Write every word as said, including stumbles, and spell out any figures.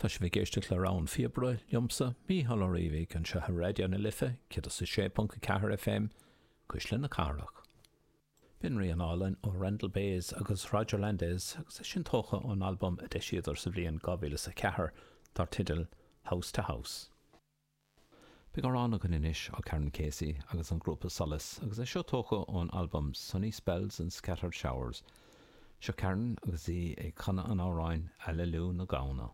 Tá sibh ag éisteacht le Rogha an Phíobaire liomsa Mícheál Ó Riabhaigh anseo ar Raidió na Life céad is a sé ponc a ceathair FM, Cuisle na Cathrach. B'in rian álainn ó Randall Bays agus Roger Landes agus é sin tógtha ón albam a d'eisíodar sa bhliain dhá mhíle is a ceathair dar teideal House to House. Beidh amhrán againn anois ó Karen Casey agus an grúpa Solas agus é seo tógtha ón albam Sunny Spells and Scattered Showers. Seo Karen agus í ag canadh an amhráin Aililiú na Gamhna.